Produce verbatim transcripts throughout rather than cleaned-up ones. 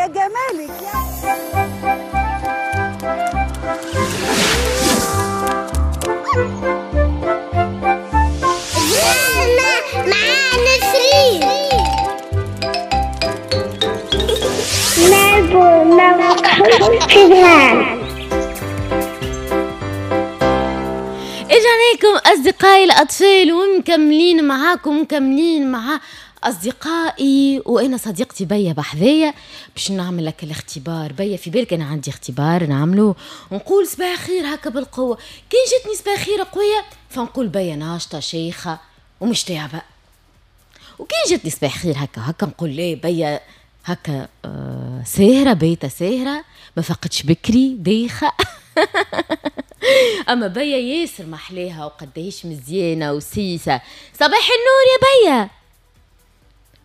يا جمالك يا. مع نسرين نلعبوا نلعبوا. اجا أصدقائي الأطفال ومكملين معاكم، مكملين مع أصدقائي وأنا صديقتي بيا بحذايا باش نعمل لك الاختبار. بيا في بالك أنا عندي اختبار نعمله ونقول صباح خير هكا بالقوة، كان جاتني صباح خير قوية فنقول بيا ناشطة شيخة ومش تعبة، وكان جاتني صباح خير هكا هكا نقول ليه بيا هكا آه ساهرة بيتا ساهرة ما فقدش بكري دايخة. أما بيا ياسر محلاها وقداش مزيانة وسيسة. صباح النور يا بيا.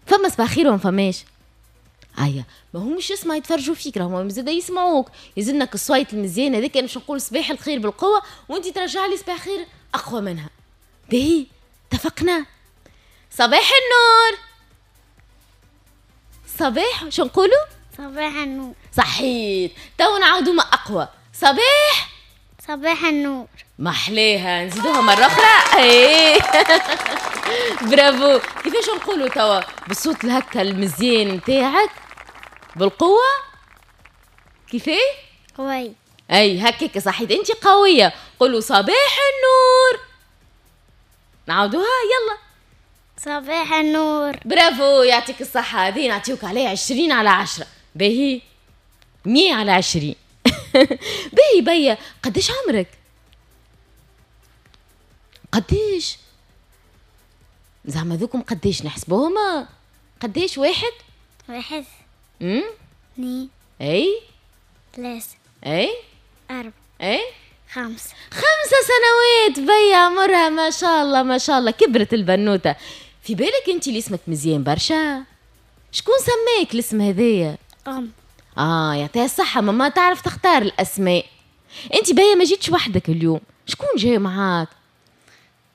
فما صباح خير وما فماش؟ ايا ما همش يسمع يتفرجوا فيك، راهم زاد يسمعوك، يزنك الصويت المزيان هذاك. انا باش نقول صباح الخير بالقوة وانت ترجع لي صباح خير اقوى منها. باهي اتفقنا؟ صباح النور. صباح شو نقولوا؟ صباح النور. صحيت، تو نعاودوا ما اقوى. صباح صباح النور. محليها، نزيدوها مرة أخرى. ايه برافو. كيفاش نقولوا توا بالصوت الهكا المزيان نتاعك بالقوة؟ كيفاه؟ قوي. اي هكاك صحيت، انت قوية. قولوا صباح النور. نعاودوها يلا. صباح النور. برافو، يعطيك الصحة. هذه نعطيوك عليها عشرين على عشرة. باهي مية على عشرين. باهي بيا، قداش عمرك؟ قداش؟ زعما ذوكم قداش نحسبوهم؟ قداش؟ واحد؟ واحد امم اثنين اي ثلاثة اي أربعة اي خمسة. خمسة سنوات بيا عمرها، ما شاء الله ما شاء الله كبرت البنوتة. في بالك انت اللي اسمك مزيان برشا؟ شكون سماك الاسم هذايا؟ أم. اه يعطيها الصحة ماما، تعرف تختار الأسماء. انت بيا ما جيتش وحدك اليوم، شكون جاي معاك؟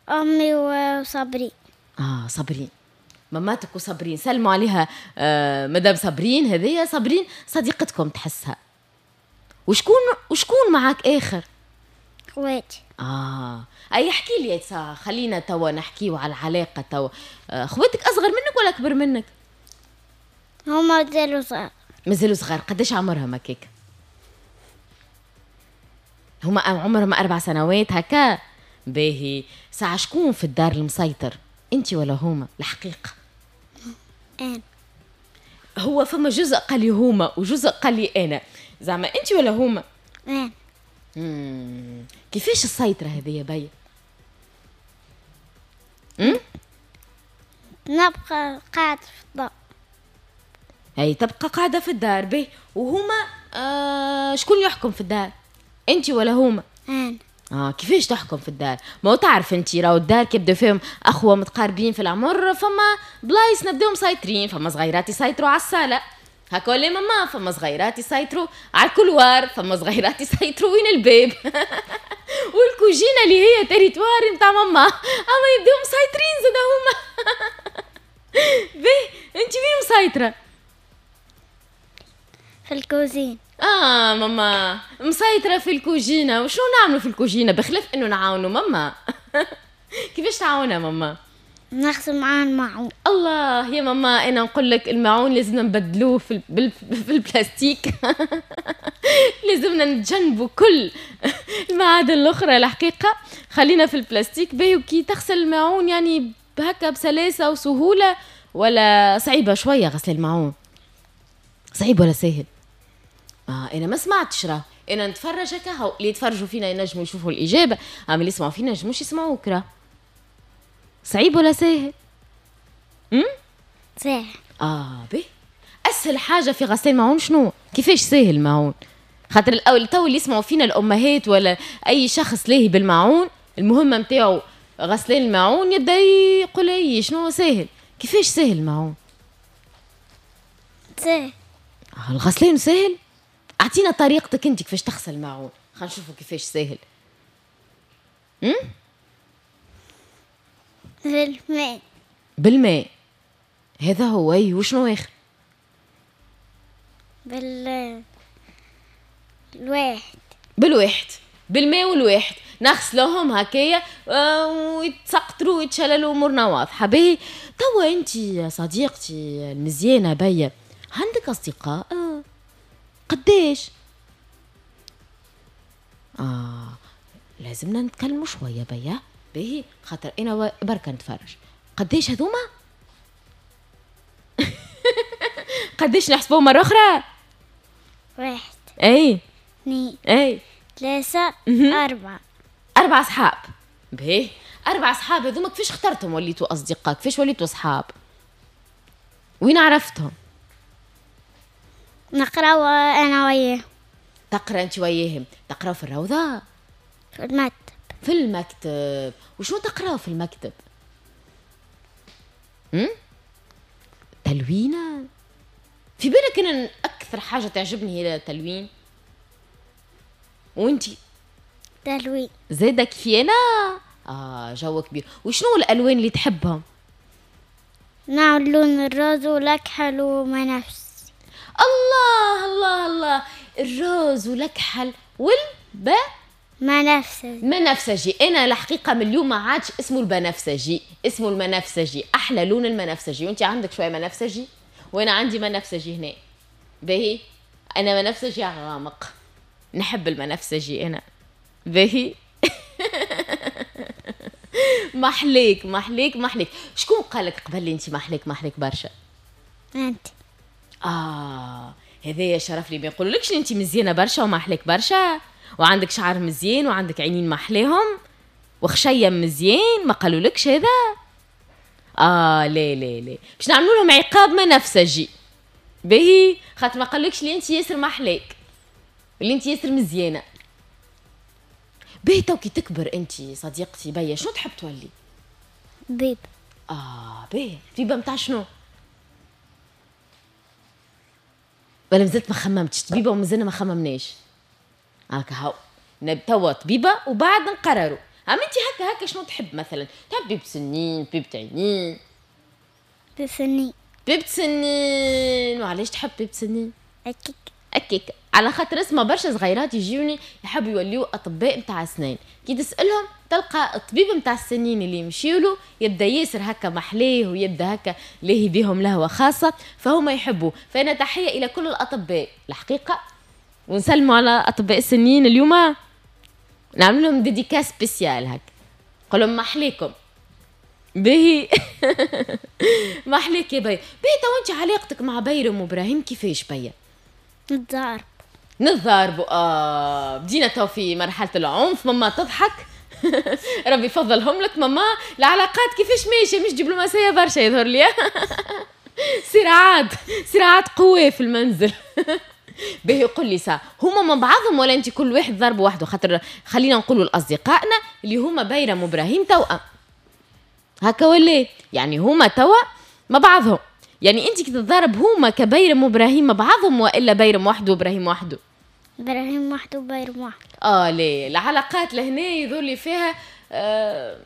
أمي وصبري. اه صابرين، ماماتك وصابرين، سلموا عليها. آه مدام صابرين، هذيا صابرين صديقتكم تحسها. وشكون وشكون معاك آخر؟ خواتي. اه اي احكي لي سا، خلينا توا نحكيو على العلاقة توا. آه خواتك أصغر منك ولا أكبر منك؟ هما مازالوا صغار. مازالوا صغار. قداش عمرهم هكاك؟ هما عمرهم أربع سنوات هكا. باهي، ساعة شكون في الدار المسيطر؟ انت ولا هما؟ الحقيقة أنا. هو فما جزء قال لي هما وجزء قال لي أنا، زعما انت ولا هما؟ أنا. مم. كيفاش السيطرة هذه يا بيا؟ امم نبقى قاعدة في الدار. هي تبقى قاعدة في الدار. باهي، وهما آه شكون يحكم في الدار؟ انت ولا هما؟ أنا. اه كيفاش تحكم في الدار؟ ما هو تعرف انت راهو الدار كي يبداو فيهم اخوه متقاربين في العمر فما بلايص نبداو مسيطرين، فما صغيرات يسيطروا على الصاله هكا ولا ماما، فما صغيرات يسيطروا على ال couloir، فما صغيرات يسيطروا وين الباب والكوجينه اللي هي territoire نتاع ماما، اما يبداو مسيطرين زاد هما. باهي، انت وين مسيطرة؟ في الكوزين. اه ماما مسيطرة في الكوجينة. وشنو نعملوا في الكوجينة بخلاف انه نعاونوا ماما؟ كيفاش تعاونها ماما؟ نغسل معاها الماعون. الله يا ماما، انا نقول لك الماعون لازمنا نبدلوه في ال... في البلاستيك. لازمنا نتجنبوا كل المعادن الاخرى الحقيقة، خلينا في البلاستيك. باهي، وكي تغسل الماعون يعني هكا بسلاسة وسهولة ولا صعيبة شوية غسل الماعون؟ صعيب ولا سهل؟ آه أنا ما سمعتش راه، أنا نتفرج هكا، هو اللي يتفرجوا فينا ينجموا يشوفوا الإجابة، أما اللي يسمعوا فينا ينجموش يسمعوك راه. صعيب ولا ساهل؟ أمم؟ ساهل. آه باهي، أسهل حاجة في غسيل الماعون شنو؟ كيفاش ساهل الماعون؟ خاطر الأول تو اللي يسمعوا فينا الأمهات ولا أي شخص لاهي بالماعون، المهمة نتاعو غسلان الماعون يبدا يقول أي شنو ساهل؟ كيفاش ساهل الماعون؟ ساهل. آه الغسلان ساهل؟ اعطينا طريقتك انت كيفاش تغسل الماعون، خلينا نشوفوا كيفاش ساهل. امم بالماء. بالماء هذا هو. اي وشنو اخر؟ بال الواحد. بالواحد، بالماء والواحد نغسلوهم هكايا ويتسقطروا ويتشللوا، امورنا واضحة. باهي توا انت يا صديقتي المزيانه بيا عندك اصدقاء؟ قداش؟ اه لازمنا نتكلموا شوية بيا. باهي خاطر انا بركة نتفرج. قداش هذوما؟ قداش نحسبوهم مرة اخرى؟ واحد، اي، اثنين، اي، ثلاثة، أربعة. أربعة أصحاب. باهي أربعة أصحاب هذوما كيفاش اخترتهم وليتوا أصدقاء؟ كيفاش وليتوا أصحاب؟ وين عرفتهم؟ نقراو أنا وياهم. تقرا أنت وياهم؟ تقراو في الروضة؟ في المكتب. في المكتب. وشنو تقراو في المكتب؟ امم؟ تلوينة؟ في بالك أنا أكثر حاجة تعجبني هي التلوين؟ وانتي؟ تلوين زادك في انا؟ اه جو كبير. وشنو الالوان اللي تحبهم؟ نعم لون ال rose والاكحل ومنفسي. الله الله الله، ال rose والاكحل والب منفسجي. منفسجي. انا الحقيقة من اليوم ما عادش اسمه البنفسجي، اسمه المنفسجي، احلى لون المنفسجي. وانت عندك شوية منفسجي وانا عندي منفسجي هنا. باهي انا منفسجي غامق، نحب المنفسجي انا. باهي محليك محليك محليك. شكون قالك قبل انت محليك محليك برشا؟ انت. اه هذايا شرف لي. ما يقولولكش انت مزيانه برشا ومحليك برشا وعندك شعر مزيان وعندك عينين محليهم وخشيم مزيان؟ ما قالولكش هذا؟ اه لا لا لا، باش نعملوا لهم عقاب منفسجي. باهي خاطر ما قالولكش لي انت ياسر محليك اللي انت ياسر مزيانه. باهي تو كي تكبر انت صديقتي بيا شنو تحب تولي؟ طبيب. اه باهي، طبيبه نتاع شنو؟ ولا مازلت ما خممتش؟ طبيبه ومازلنا ما خممناش. هاكا هاو توا طبيبه وبعد نقرروا. اما انت هكا هكا شنو تحب مثلا؟ تحب طبيب سنين، طبيب عينين؟ طبيب سنين. طبيب سنين. وعلاش تحب طبيب سنين؟ اكيك اكيك على خاطر اسمه برشا صغيرات يجيوني يحبوا يوليو اطباء نتاع اسنان، كي تسالهم تلقى الطبيب نتاع السنين اللي يمشيولو يبدا ياسر هكا محليه ويبدا هكا لاهي بيهم لهوه خاصة، فهما يحبوا. فانا تحية الى كل الاطباء الحقيقة، ونسلموا على اطباء السنين اليوم، نعمل لهم dédicace spéciale هكا، نقول لهم محليكم. باهي محليك يا بيا. باهي تو انت علاقتك مع بيرم وابراهيم كيفاش بيا؟ نتضارب. نتضاربوا. اه بدينا تو في مرحلة العنف. ماما تضحك ربي يفضلهم لك ماما. العلاقات كيفاش ماشية؟ مش دبلوماسية برشا يظهر لي. صراعات صراعات قوية في المنزل. باهي قول لي سا هما مع بعضهم ولا انت كل واحد ضرب وحده؟ خاطر خلينا نقولوا لاصدقائنا اللي هما بيرم وابراهيم توأم هكا ولا؟ يعني هما توا مع بعضهم، يعني انت كي تتضارب هما كبيرم وابراهيم مع بعضهم والا بيرم وحده وابراهيم وحده؟ ابراهيم وحده وبيرم وحده. اه ليه العلاقات لهنا يظهر لي فيها آه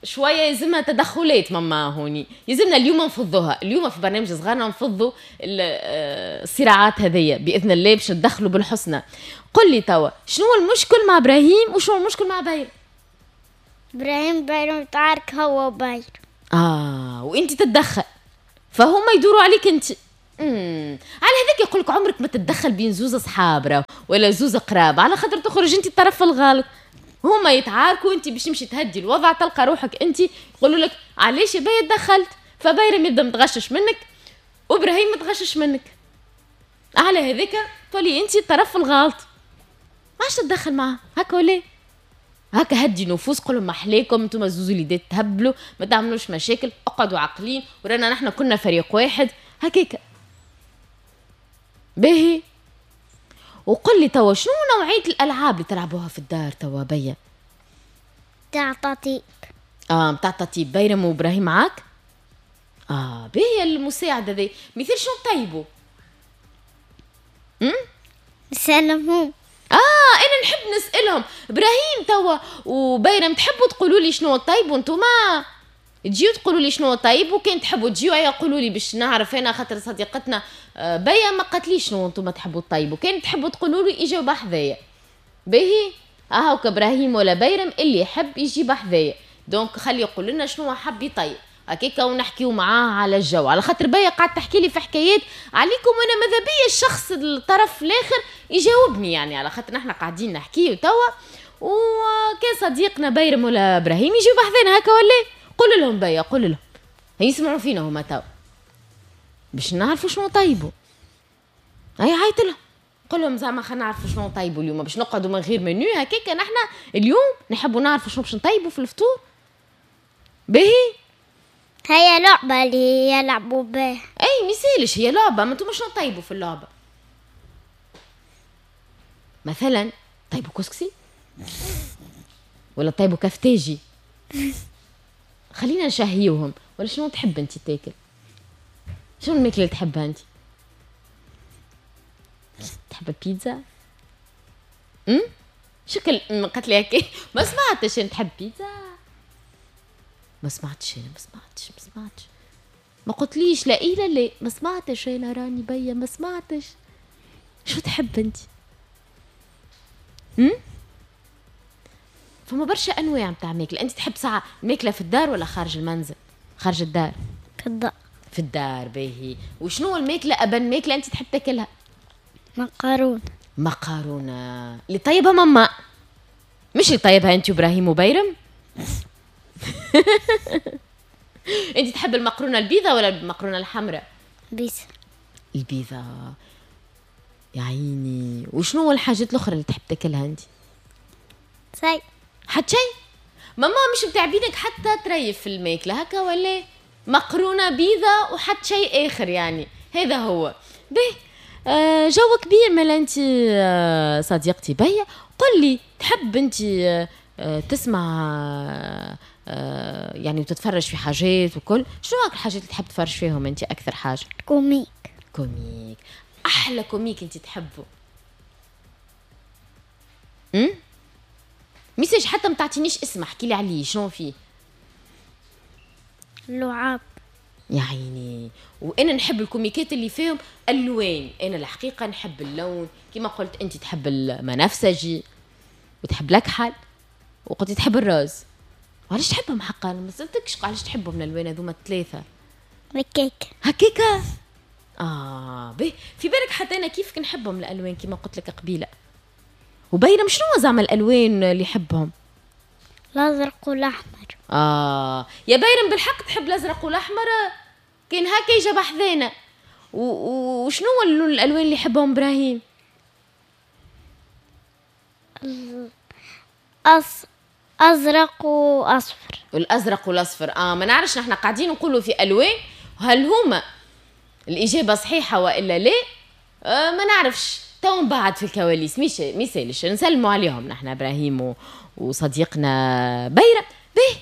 شوية يلزمها تدخلات ماما هوني، يلزمنا اليوم نفضوها، اليوم في برنامج صغارنا نفضوا الصراعات هذيا باذن الله باش ندخلوا بالحسنى. قل لي توا شنو المشكل مع ابراهيم وشنو المشكل مع بيرم؟ ابراهيم بيرم يتعارك هو وبيرم. اه وانت تتدخل فهما يدوروا عليك انت. امم على هذاك يقول لك عمرك ما تتدخل بين زوز اصحاب ولا زوز قراب، على خاطر تخرج انت الطرف الغلط. هما يتعاركوا انت باش تمشي تهدي الوضع تلقى روحك انت يقولوا لك علاش يا بيا تدخلت، فبيرم يبدا متغشش منك وابراهيم متغشش منك. على هذاك تولي انت الطرف الغلط، ما عادش تتدخل معاه هكا ولا هكا. هدي نفوس، قولوا ما حليكم انتم زوز وليدات تهبلوا، ما تعملوش مشاكل، اقعدوا عاقلين ورانا نحن كنا فريق واحد هكاك. باهي وقل لي توا شنو نوعية الألعاب اللي تلعبوها في الدار توا بيا؟ تاع تطيب. اه تاع تطيب. بيرم وابراهيم معاك؟ اه باهي المساعدة ذي. مثال شنو تطيبوا؟ امم نسألهم. اه انا نحب نسألهم. ابراهيم توا وبيرم تحبوا تقولوا لي شنو طيبوا انتوما؟ تجيو تقولوا لي شنو طيب، وكان تحبوا تجيو هيا قولوا لي باش نعرف انا، خاطر صديقتنا آه، بيا ما قالتليش شنو انتم تحبوا تطيبوا، كان تحبوا تقولوا لي اجوا بحذايا. باهي اهوك ابراهيم ولا بيرم اللي يحب يجي بحذايا، donc خلي يقول لنا شنو حب يطيب هكاكا ونحكيو معاه على الجو، على خاطر بيا قاعد تحكي لي في حكايات عليكم وانا ماذا بيا الشخص الطرف الاخر يجاوبني، يعني على خاطر نحن قاعدين نحكيو توا، وكان صديقنا بيرم ولا ابراهيم يجيو بحذانا هكا ولا؟ قول لهم بيا، قول لهم يسمعوا فينا هما توا باش نعرفوا شنو طيبوا. هيا عيط لهم قول لهم زعما خلينا نعرفوا شنو نطيبوا اليوم باش نقعدوا من غير منيو هكاك. نحن اليوم نحبوا نعرفوا شنو باش نطيبوا في الفطور. باهي هي لعبة اللي يلعبوا بها. اي ميسالش هي لعبة، ما انتم شنو طيبوا في اللعبة؟ مثلا طيبوا كسكسي ولا طيبوا كفتاجي؟ خلينا نشهيوهم. ولا شنو تحب انت تاكل؟ شنو الماكلة اللي تحبها انت؟ تحب البيتزا؟ امم شكل قالت لي هكا ما سمعتش. انت تحب بيتزا؟ ما سمعتش انا، ما سمعتش ما سمعتش، ما قلتليش لا ايه لا لا، ما سمعتش انا راني بيا ما سمعتش. شو تحب انت؟ امم فما برشا انواع نتاع ماكله. انت تحب ساعة ماكله في الدار ولا خارج المنزل؟ خارج الدار. في الدار. في الدار باهي. وشنو الماكلة ابن ماكله انت تحب تاكلها؟ مقارونة. مقارونة اللي طيبها ماما، مش اللي طيبها انت وابراهيم وبيرم. انت تحب المقرونه البيضة ولا المقرونه الحمراء؟ بيضة. البيضة يا عيني. وشنو هو الحاجات الاخرى اللي تحب تاكلها انت؟ شيء. حتى شيء؟ ماما مش متعبينك حتى تريف في الماكلة هكا ولا؟ مقرونة بيضة وحتى شيء اخر يعني، هذا هو. به آه جو كبير مالا انت آه صديقتي بيا. قل لي تحب انت آه تسمع آه يعني وتتفرج في حاجات وكل، شنو الحاجات اللي تحب تتفرج فيهم انت اكثر حاجة؟ comique. comique. احلى comique انت تحبه؟ امم message حتى ما تعطينيش اسم، احكي لي عليه شنو فيه؟ اللعاب. يا عيني. وانا نحب الكوميكات اللي فيهم الوان، انا الحقيقة نحب اللون كما قلت انت تحب المنفسجي وتحب الاكحل وقلت تحب ال rose. وعلاش تحبهم حقا؟ ما سالتكش علاش تحبهم الالوان هذوما الثلاثة. هكاك هكاكا. اه به في بالك حتى انا كيفك نحبهم الالوان كما قلت لك قبيلة. وبيرم شنو زعما الالوان اللي يحبهم؟ الازرق والاحمر. اه يا بيرم بالحق تحب الازرق والاحمر؟ كان هكا يجي بحذانا. وشنو الالوان اللي يحبهم ابراهيم؟ أص... ازرق واصفر. الازرق والاصفر. اه ما نعرفش نحن قاعدين نقولوا في الوان، هل هما الاجابة صحيحه والا لا؟ آه ما نعرفش، تو من بعد في الكواليس. مش ميسالش نسلموا عليهم نحن ابراهيم و... وصديقنا بيرم. به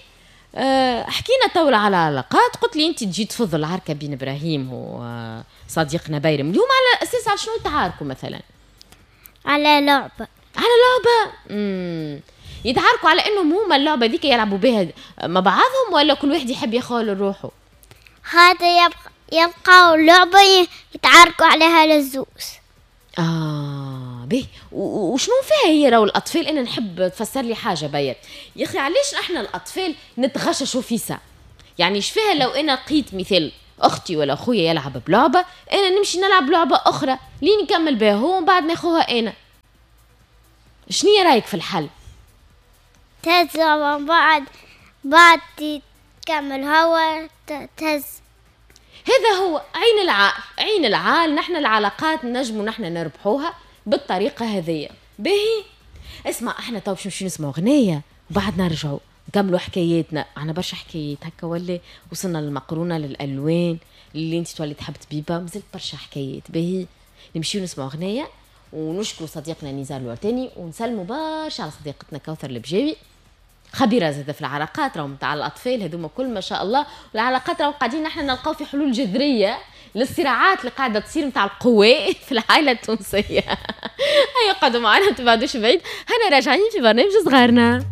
أه حكينا تو على العلاقات، قلت لي انت تجي تفضل العركه بين ابراهيم وصديقنا بيرم اليوم على اساس على شنو تعاركوا مثلا؟ على لعبه. على لعبه. امم يتعاركوا على انهم هما اللعبة ديك يلعبوا بها مع بعضهم ولا كل واحد يحب يخال روحه؟ هذا يبقى يلقاو لعبه يتعاركوا عليها للزوز. اه به. وشنو فيها هي راهو الاطفال؟ انا نحب تفسر لي حاجة بيا يا اخي، علاش احنا الاطفال نتغششوا في ساعة؟ يعني اش فيها لو انا لقيت مثال اختي ولا خويا يلعب بلعبه، انا نمشي نلعب لعبه اخرى لين نكمل بها هو ومن بعد ناخوها انا. شنو رايك في الحل؟ تهز من بعد بعد تكمل هوا تهز. هذا هو عين العقل، عين العال. نحن العلاقات نجموا نحن نربحوها بالطريقة هذية. باهي اسمع، احنا تو باش نمشيو نسمعوا غناية وبعد نرجعوا نكملوا حكاياتنا. عندنا برشا حكايات هكا ولا وصلنا للمقرونة للألوان اللي انت تولي تحب تبيبها، مازالت برشا حكايات. باهي نمشيو نسمعوا غناية ونشكروا صديقنا نزار الورتاني ونسلموا برشا على صديقتنا كوثر البجاوي، خبيرة زادة في العلاقات راهم تاع الاطفال هذوما كل ما شاء الله. العلاقات راهم قاعدين نحن نلقاو في حلول جذرية للصراعات اللي قاعدة تصير نتاع القوى في العائلة التونسية. هيا قعدوا معنا ما تبعدوش بعيد، هنا راجعين في برنامج صغارنا.